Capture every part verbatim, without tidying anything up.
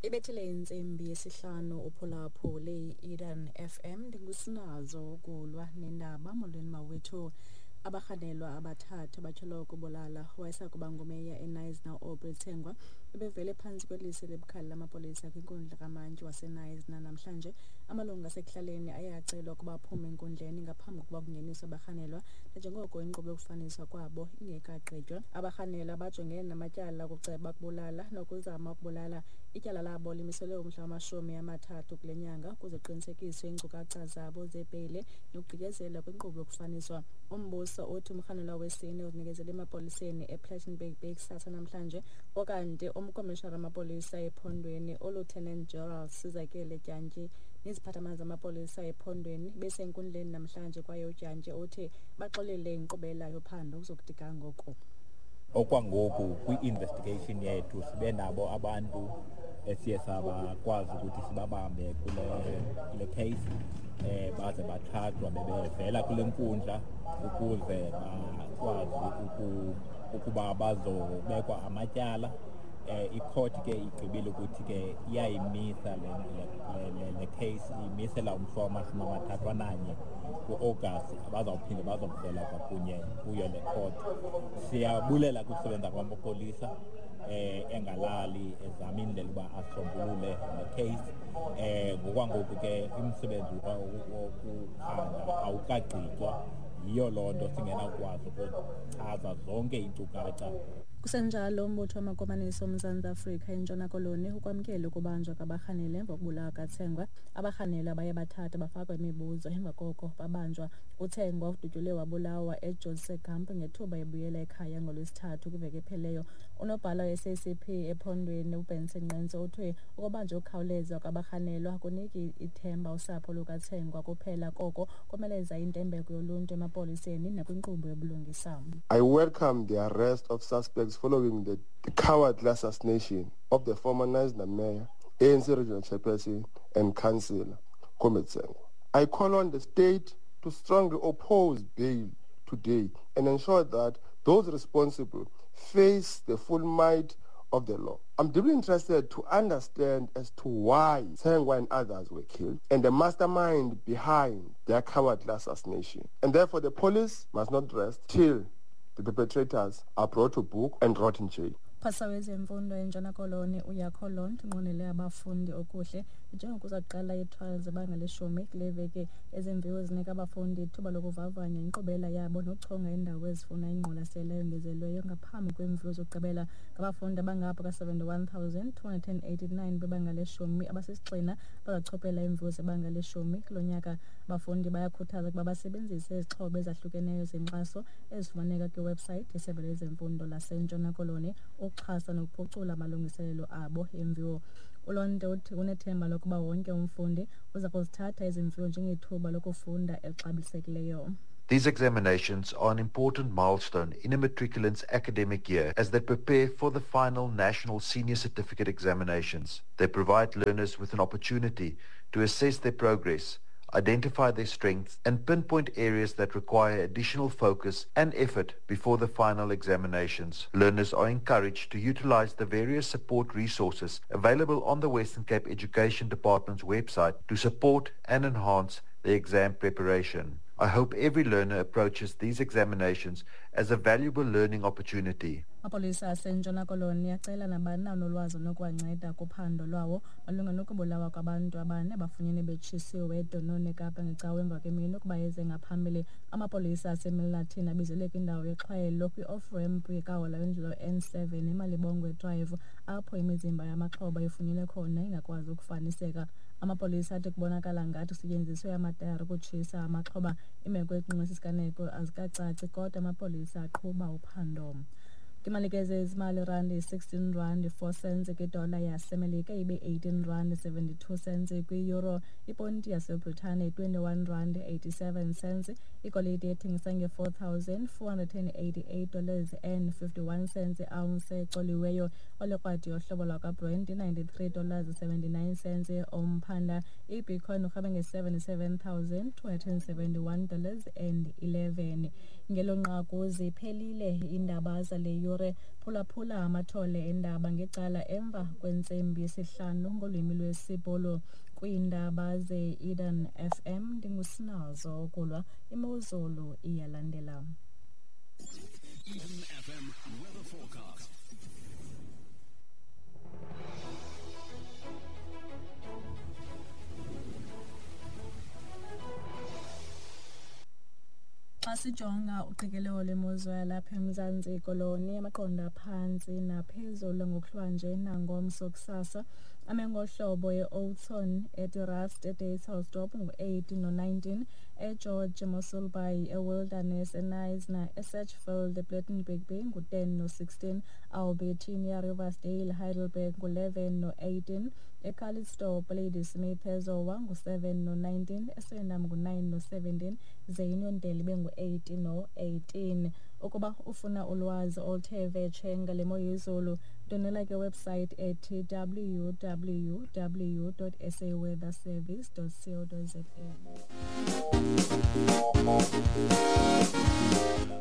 Ibethile intsimbi yesihlanu uphulaphule i-Eden F M. Ndingusinazo ukulwa nendaba. Molweni mawethu. Abarhanelwa abathathu abatyholwa ukubulala wayesakuba ngumeya eKnysna, Aubrey Tsengwa, bebevele phantsi kweliso elibukhali lamapolisa kwinkundla kamantyi waseKnysna namhlanje. Amalungu asekuhlaleni aye acelwa ukuba aphume enkundleni ngaphambi kokuba kungeniswe abarhanelwa, nanjengoko inkqubo yokufaniswa kwabo ingekagqitywa. Abarhanelwa bajongene namatyala okuceba ukubulala nokuzama ukubulala. Ityala labo limiselwe umhla wamashumi amathathu kule nyanga ukuze kuqinisekiswe iinkcukacha zabo zebheyile nokugqityezelwa kwinkqubo yokufaniswa. Umbuso uthi umrhanelwa wesine uzinikezele emapoliseni ePlettenberg Bay kusasa namhlanje. Okanti umkomishinara wamapolisa ephondweni, uLieutenant General Sizakele Dyantyi, neziphathamandla zamapolisa ephondweni besenkundleni namhlanje, kwaye uDyantyi uthi baxolele inkqubela yophando ukuzokuthi ga ngoku. Okwangoku kwi-investigation yethu sibe nabo abantu esiye sabakwazi ukuthi sibabambe kule kule case, eh baze bathathwa bebevela kule nkundla ukuze bakwazi ukuba bazobekwa amatyala. eh icourt ke igqibile ukuthi ke iyayimisa le le le case, imisela umhla wamashumi amathathu ananye ku-August, abazawuphinde bazovela kwakunye kuyo le court. Siyabulela kusebenza kwamapolisa eh engalali ezama indlela uba asombulule le case. eh ngokwangoku ke umsebenzi wokuphanda awukagqitywa, yiyo loo nto singenakwazi ukuchaza zonke iinkcukacha. Kusenjalo, umbutho wamakomanisi oMzantsi Afrika eNtshona Koloni ukwamkele ukubanjwa kwabarhanelwa emva kokubulawa kaTsengwa. Abarhanelwa baye bathathwa, bafakwa imibuzo, emva koko babanjwa. UTsengwa udutyulwe wabulawa eJose Gamp ngethuba ebuyela ekhaya ngoLwesithathu kwiveki ephelileyo. Unobhala we-S A C P ephondweni, uBenson Nqentsu, uthe ukubanjwa okukhawuleza kwabarhanelwa kuniki ithemba usapho lukaTsengwa kuphela, koko komeleza intembeko yoluntu emapoliseni nakwinkqubo yobulungisa. I welcome the arrest of suspects following the, the cowardly assassination of the former Knysna mayor, A N C regional chairperson and councillor, Comrade Tsengwa. I call on the state to strongly oppose bail today and ensure that those responsible face the full might of the law. I'm deeply interested to understand as to why Tsengwa and others were killed and the mastermind behind their cowardly assassination. And therefore the police must not rest till the perpetrators are brought to book and rot in jail. Umphathiswa wezemfundo eNtshona Koloni, uJaco Londt, unqwenele abafundi okuhle njengokuza kuqala ii-trials zebanga leshumi kule veki. Ezi mviwo zinika abafundi ithuba lokuvavanya inkqubela yabo nokuchonga iindawo ezifuna ingqwalasela eyongezelelweyo ngaphambi kweemviwo zokugqibela. Ngabafundi abangapha ka-seventy-one thousand two hundred and eighty-nine bebanga leshumi abasisigxina bazachophela iimviwo zebanga leshumi kulo nyaka. Abafundi bayakhuthazwa ukuba basebenzise izixhobo ezahlukeneyo zenkxaso ezifumaneka kwiwebhusayithi yeSebe lezeMfundo laseNtshona Koloni ukuxhasa nokuphucula amalungiselelo abo emviwo. ULondt uthi unethemba lokuba wonke umfundi uza kuzithatha ezi mviwo njengethuba lokufunda elixabisekileyo. These examinations are an important milestone in a matriculant's academic year as they prepare for the final National Senior Certificate examinations. They provide learners with an opportunity to assess their progress, identify their strengths, and pinpoint areas that require additional focus and effort before the final examinations. Learners are encouraged to utilize the various support resources available on the Western Cape Education Department's website to support and enhance their exam preparation. I hope every learner approaches these examinations as a valuable learning opportunity. Amapolisa aseNtshona Koloni acela nabani na onolwazi onokuwanceda kuphando lwawo malunga nokubulawa kwabantu abane abafunyenwe betshisiwe eDunoon, eKapa, ngeCawa emva kwemini ukuba eze ngaphambili. Amapolisa aseMilnerton abizelwe kwindawo yexhwayelo kwi-off-ramp kahola wendlela N seven eMalibongwe Drive, apho imizimba yamaxhoba ifunyenwe khona ingakwazi ukufaniseka. Amapolisa athi kubonakala ngathi kusetyenziswe amatayara ukutshisa amaxhoba. Iimeko eqingqwe sisiganeko azikacaci, kodwa amapolisa aqhuba uphando. Imalike zezimali: randi sixteen rand four cents kwidola yaseMelika, ibe eighteen rand seventy-two cents kwi-euro, iponti yaseBritane twenty-one rand eighty-seven cents, igolide ethengisa nge-four thousand four hundred and eighty-eight dollars and fifty-one cents ounce ecoliweyo, olekrwadi yohlobo lwakwaBrent ninety-three dollars seventy-nine cents umphanda, ibitcoin urhabe nge-seventy-seven thousand two hundred and seventy-one dollars and eleven. Ngelo nqaku ziphelile iindaba zale yure. yure. Phulaphula amathole endaba ngecala emva kwentsimbi yesihlanu ngolwimi lwesiBhulu. Kwiindaba ze-Eden F M ndingusinazo ukulwa imozulu iyalandela. Eden F M weather forecast. Xa sijonga uqikelelo lwemozulu yalapha eMzantsi Koloni, amaqondo aphantsi naphezulu ngokuhlwanje nangomso kusasa ame ngohlobo e-Oudtshoorn, eTerrace, eDuyvelsdorp ngu-eight no-nineteen, eGeorge, Mossel Bay, eWilderness, eKnysna, eSedgefield, ePlettenberg Bay ngu-ten no-sixteen, Albertinia, Riversdale, Heidelberg ngu-eleven no-eighteen, eCalitzdorp, Ladysmith, eZowa ngu-seven no-nineteen, eSwellendam ngu-nine no-seventeen, ze iUniondale ibe ngu-eight no-eighteen. Ukuba ufuna ulwazi oluthe vetshe ngale mo yezulu, ndwendwela ke website ethi w w w dot s a weather service dot co dot z a.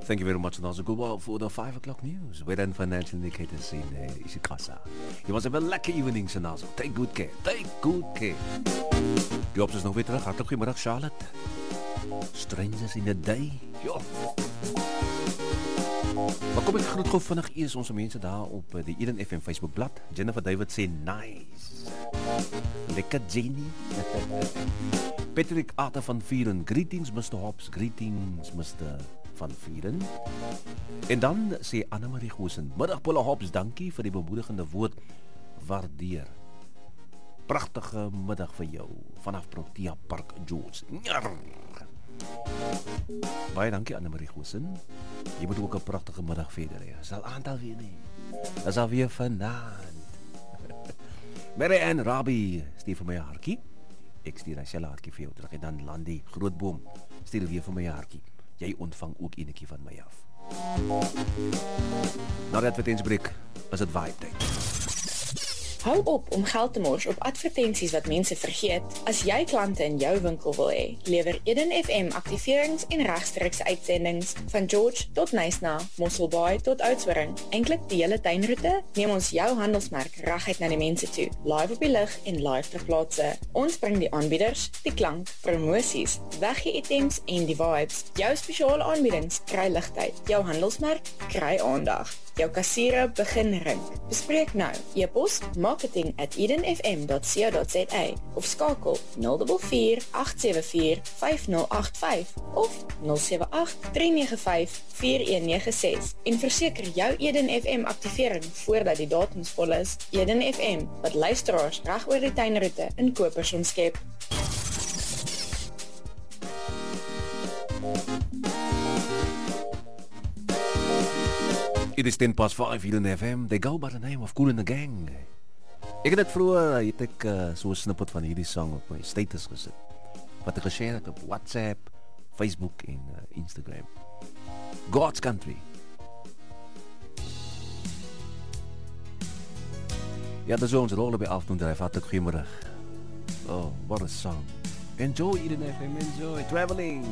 Thank you very much, Nazo Gulwa, for the five o'clock news. Weather and financial indicators in uh, isiXhosa. You must have a lucky evening, Sinazo. Take good care. Take good care. Die Hops is nog weer terug. Hartlik goeiemiddag, Charlotte. Strangers in the day. Ja. Maar kom ek groet gou vinnig eers ons mense daar op die Eden F M Facebookblad. Jennifer David sê nice. Lekker Jenny. Patrick Arthur van Vieren. Greetings Mister Hops. Greetings Mister van Vieren. En dan sê Annemarie Goosen, middag Bolle Hops, dankie vir die bemoedigende woord. Waardeer. Pragtige middag vir jou vanaf Protea Park, George. Njar. Baie dankie Annemarie Goosen. Jy moet ook 'n pragtige middag verder hê. Is al aantal weer nie. Is al weer vanaand. Mary Ann Rabie stuur vir my 'n hartjie. Ek stuur dieselfde hartjie vir jou terug. En dan Landy Grootboom stuur weer vir my 'n hartjie. Jy ontvang ook enetjie van my af. Na die advertensiebreek is dit vibe tyd. Hou op om geld te mors op advertensies wat mense vergeet. As jy klante in jou winkel wil hê, lewer Eden F M aktiverings en regstreekse uitsendings van George tot Knysna, Mossel Bay tot Oudtshoorn. Eintlik die hele tuinroete, neem ons jou handelsmerk reguit na die mense toe, live op die lug en live ter plaatse. Ons bring die aanbieders, die klank, promosies, weggee-items en die vibes. Jou spesiale aanbiedings kry ligtyd, jou handelsmerk kry aandag. Jou kassiere begin rink. Bespreek nou. E-pos marketing at eden f m dot co dot z a of skakel nul vier vier agt sewe vier vyf nul agt vyf of nul sewe agt drie nege vyf vier een nege ses en verseker jou Eden F M aktivering voordat die datums vol is. Eden F M, wat luisteraars reg oor die tuinroete in kopers omskep. It is ten past five here in F M. They go by the name of Kool and the Gang. Ek het dit vroeër, het ek uh, so 'n snippet van hierdie song op my status gesit. Wat ek geshare het op WhatsApp, Facebook en uh, Instagram. God's Country. Ja, dis ons rol op die afdoen dryf. Hartlik goeiemiddag. Oh, what a song. Enjoy Eden F M, enjoy traveling.